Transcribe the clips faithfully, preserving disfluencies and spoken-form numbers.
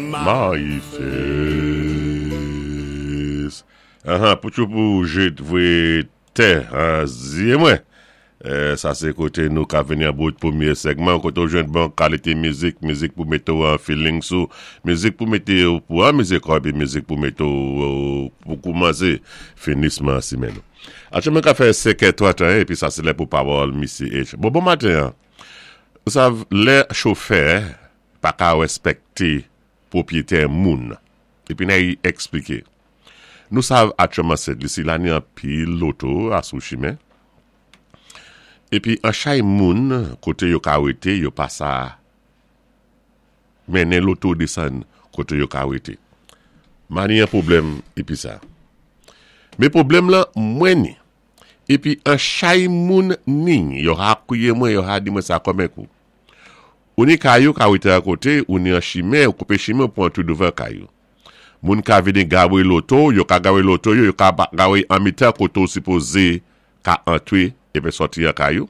My face. Ahan, pou tchou pou jet vwe tè, an zye mwen. Eh, sa sé koté nou ka vini an bout pwémyé segman, koté ou jwenn bon kalité mizik, mizik pou mété ou an feeling sou, mizik pou mété ou pou an mizik ou, mizik pou mété ou pou koumansé finisman simenn. Aktyèlman ka fè senkè tranteyen, épi sa sé lè pou pawòl Missy H. Bon, bon maten, ou sav, lè chofè pa ka wèspèkté pwopwiyétè moun. Épi nan y ekspliké. Nou sav aktyèlman sé lisi la ni anpil loto asou chimen. Épi an chay moun koté yo ka wété, yo pa sa mennen loto désann koté yo ka wété. Mani an pwoblèm épi sa. Mé pwoblèm lan mwen ni. Épi an chay moun ni, yo ha kouye mwen, yo ha di mwen sa kòm kou. Ou ni kay ou ka wété a koté, ou ni an chimen, ou koupé chimen pou antré douvan kay ou. Moun ka vini gawé loto, yo ka gawé loto yo, yo ka gawé an mitan koté ou sipozé ka antré épi sòti an kay ou.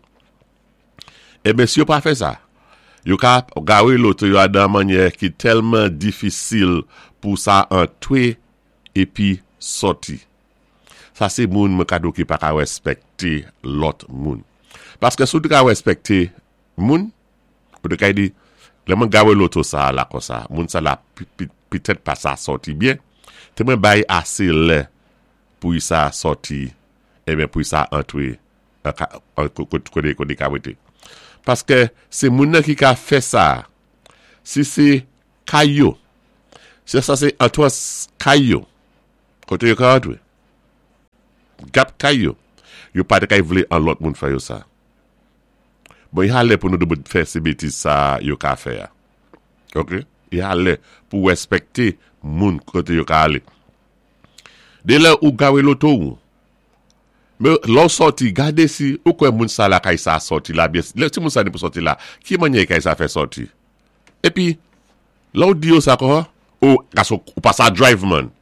Eben si yo pa fè sa, yo ka gawé loto yo a dan mannyè ki tèlman difisil pou sa antré épi sòti. Sa sé moun mwen ka di ou ki pa ka wèspèkté lòt moun. Paské si ou té ka wèspèkté moun, ou té ka di, lè mwen gawé loto sa la konsa, moun sa la pitèt pa sa sòti byen, té mwen bay asé lè pou y sa sòti, eben pou y sa antré koté koté ka wété. Paské sé moun nan ki ka fè sa, si sé kay yo, si sa sé antrans kay yo, koté yo ka antré, gap kay yo, yo pa té kay vlé an lòt moun fè yo sa. Bon, y a lè pou nou debout fè sé bétiz sa yo ka fè a. Ok? Y a lè pou wèspèkté moun koté yo ka alé. Dé lè ou gawé loto ou, mé lò sòti, gadé si, ou kwè moun sa la kay sa sòti la, byen, lè si moun sa ni pou sòti la, ki mannyè kay sa fè sòti? Épi, lò ou di yo sa kon, ou, gason, ou pa sa drive man.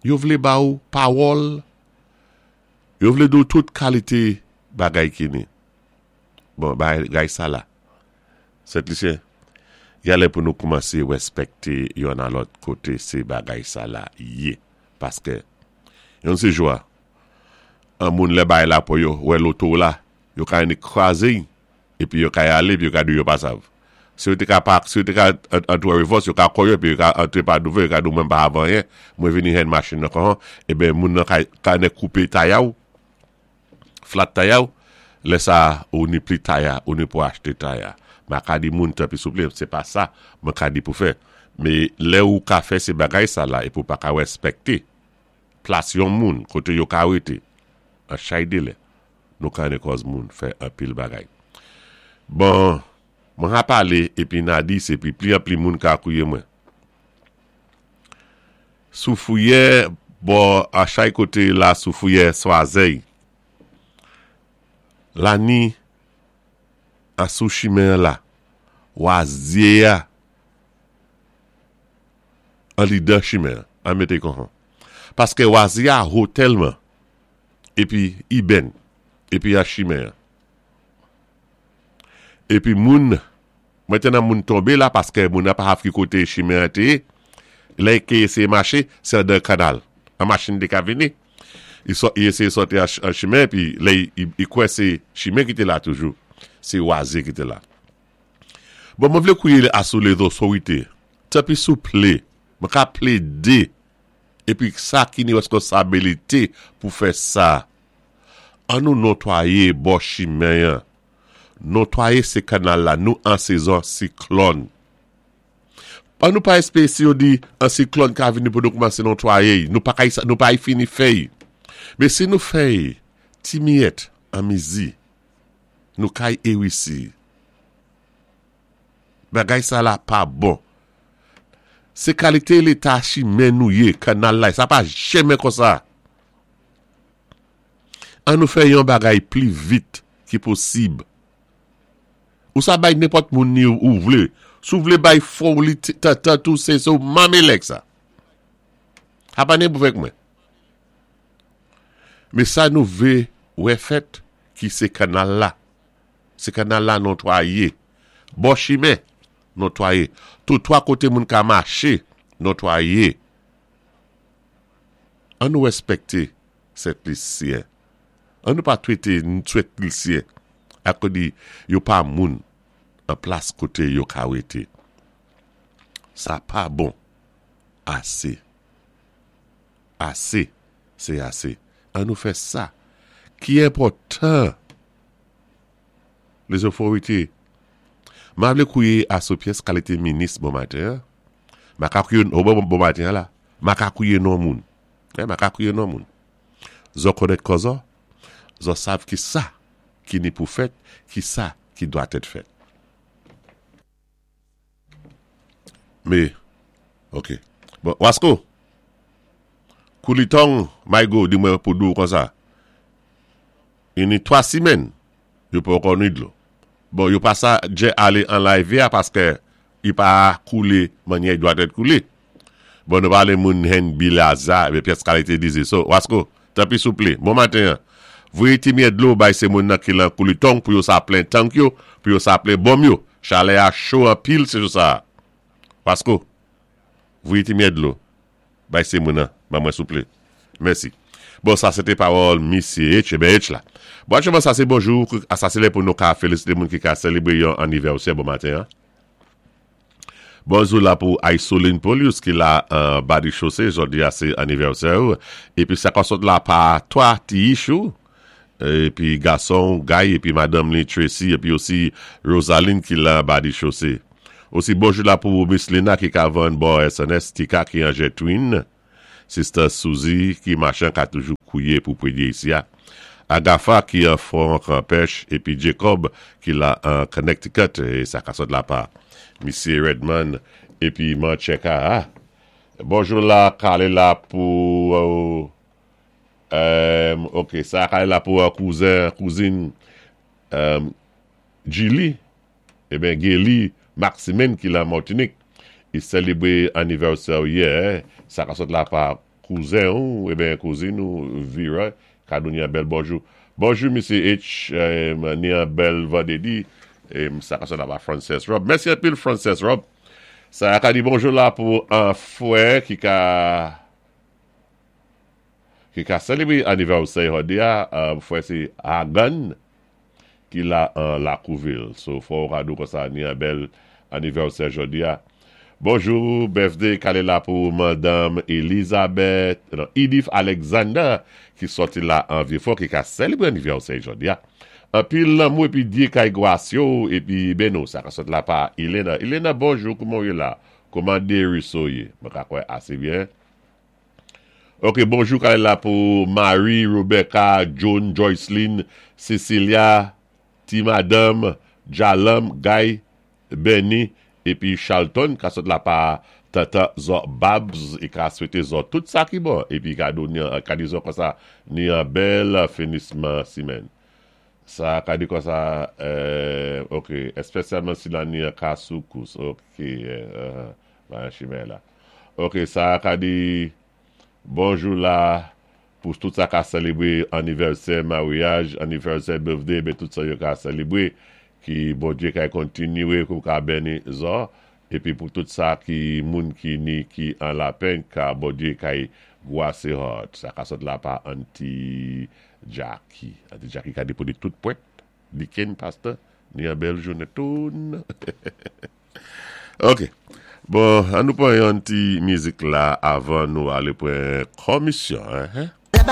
Yo vlé ba ou pawòl, yo vlé di ou tout kalité bagay ki ni. Bon, bagay sa la. Sent Lisyen, y a lè pou nou koumansé wèspèkté youn a lòt koté sé bagay sa la yé. Paské, yon sé jwa, an moun lè bay la pou yo, wè loto la, yo ka ni kwazé, épi yo ka y alé, épi yo ka di yo pa sav. Si yo té ka pak, si yo té ka antré reverse, yo ka koyo, épi yo ka antré pa douvan, yo ka di ou mwen pa avan anyen, mwen vini hen machin nan kon, eben moun nan ka, ka né koupé taya ou, flat taya ou, lè sa ou ni pli taya, ou ni pou achté taya. Ma ka di moun tanpi souplé, sé pa sa, mwen ka di pou fè. Mé lè ou ka fè sé bagay sa la, épi ou pa ka wèspèkté plas yon moun, koté yo ka wété, an chay dé lè, nou ka né kòz moun fè anpil bagay. Bon, mwen ha palé, épi na di, sé pi pli an pli moun ka kouye mwen. Sou fouyè, bon, a chay koté la sou fouyè Swazey, la ni, a sou chimen la, wazye a, an li dan chimen, an mété kon. Paské wazye a ho tèlman, épi i ben, épi a chimen. Épi moun, mwentenan moun tonbé la, paské moun a pa hav ki koté chimen an té, lè ki éséyé maché, sé an dan kanal. An machin té ka vini. I so, i éséyé sòti an, an chimen, pi lè i, i kwè sé chimen ki té la toujou. Sé wazye ki té la. Bon, mwen vlé kouye asou lézotorité. Tanpi souplé, mwen ka plédé, épi sa ki ni wèskonsabilité pou fè sa. An nou notwayé bò chimen an. Notwayé sé kanal la, nou an sezon siklòn. An nou pa espéwé si yo di an siklòn ka vini pou nou koumansé notwayé, nou pa kay, nou pa y fini fèy. Mé si nou fèy ti miyèt an mizi, nou kay ewisi. Bagay sa la pa bon. Sé kalité léta chimen nou yé, kanal la, sa pa janmen konsa. An nou fè yon bagay pli vit ki posib. Ou sa bay nenpòt moun ni ou vlé. Sou vlé bay fò ou li tan tou sé sou mamelek sa. Ha pa nen pou fèk mwen. Mé sa nou vlé wè fèt ki sé kanal la. Sé kanal la notwayé. Bò chimen, Notwayé. Twotwa koté moun ka maché, notwayé. An nou wèspèkté Sent Lisyen. An nou pa twété Sent Lisyen akò di yo pa moun an plas koté yo ka wété. Sa pa bon. Asé. Asé, sé asé. An nou fè sa ki enpòtan. Lézòtorité. Ma vlé kouwé asou pyès kalité minis bon maten. Ma ka kouwé, oh, bon, bon maten la. Ma ka kouwé non moun. Eh, ma ka kouwé non moun. Zo konnèt kò zo. Zo sav ki sa ki ni pou fèt, ki sa ki dwa èt fèt. Mé, ok. Bon, Wasko, Koulitong, Maygo, di mwen pou di ou kon sa. I ni twa simèn, yo poko ni dlo. Bon, yo pa sa djè alé an layvyè paské i pa koulé mannyè i dwa èt koulé. Bon, nou palé moun hen bilaza, ébé pyès kalité dizi. So, Wasko, tanpwi souplé, bon maten, voyé ti myèt dlo bay sé moun nan ki lan Koulitong pou yo sa plen tank yo, pou yo sa plen bonm yo. Chalè a cho anpil sé jou sa. Wasko, voyé ti myèt dlo bay sé moun nan, ban mwen souplé. Mèsi. Bon, sa sé té pawòl Misyé H, ébé H la. Bon, aktyèlman sa sé bonjou, a sa sé lè pou nou ka félisité moun ki ka sélébré yon anivèsè bon maten. Bonjou la pou Isoline Polius ki la an ba di chosé, jòdi a sé anivèsè. Épi sa ka sot la pa twa ti ichou, épi gason Guy, épi madanm li Tracy, épi osi Rosaline ki la ba di chosé. Osi bonjou la pou Miss Lena ki ka vann bò S N S Tika ki an Jetwin, Sister Suzy ki machan ka toujou kouwé pou prédyé isi a. Agafa ki an Fon Pèch, épi Jacob ki la an Connecticut, é sa ka sot la pa Misyé Redman, épi Mancheka. Ah. Bonjou la, kalé la pou... Euh, ok, sa kalé la pou kouzen, kouzin euh, Gili, ében Geli Maximin ki la Martinique, i sélébré anivèsè yè, sa ka sot la pa kouzen ou, ébén kouzin ou, Vira, ka donni yon bèl bonjou. Bonjou, Misyé H, euh, ni yon bèl vandédi, é sa ka sot la pa Frances Rob. Mèsi anpil, Frances Rob. Sa ka di bonjou la pou an fwè ki ka ki ka sélébré anivèsè jòdi a, fwè sé Hagan ki la an Lakouvil. So, fò ka di ou kon sa ni yon bèl anivèsè jòdi a. Bonjou, birthday kalé la pou Madame Elizabeth, non, Edith Alexander ki soti la an Vieux-Fort ki ka sélébré anivèsè jòdi a. Anpil lanmou épi Dyé kay gwasé yo épi beni ou, sa ka sot la pa Elena. Elena, bonjou, kouman ou yé la? Kouman Deriso yé? Mwen ka kwè asé byen. Ok, bonjou kalé la pou Marie, Rebecca, John, Joycelyn, Cecilia, Ti Madame, Jalam, Guy, Benny, épi Charlton, ka sot la pa Tata Zo Babs, é ka swété zo tout sa ki bon, épi ka donni, ka di zo kon sa, ni an bèl finisman simèn. Sa ka di kon sa, euh, ok, espésyalman si la ni an ka soukous, ok, euh, ba an chimè la. Ok, sa ka di, bonjou la, pou tout sa ka sélébré anivèsè, maryaj, anivèsè, birthday, bé tout sa yo ka sélébré, ki bon Dyé ka kontinyé pou ka béni zo, épi pou tout sa ki moun ki ni ki an lapenn, ka bon Dyé kay gwasé hot. Sa ka sot la pa Auntie Jackie. Auntie Jackie ka di pou di tout pwèt, Diken pasteur, ni an bèl jounen toun. Ok. Bon, an nou pran yon ti mizik la avan nou alé pran komisyon. Hein?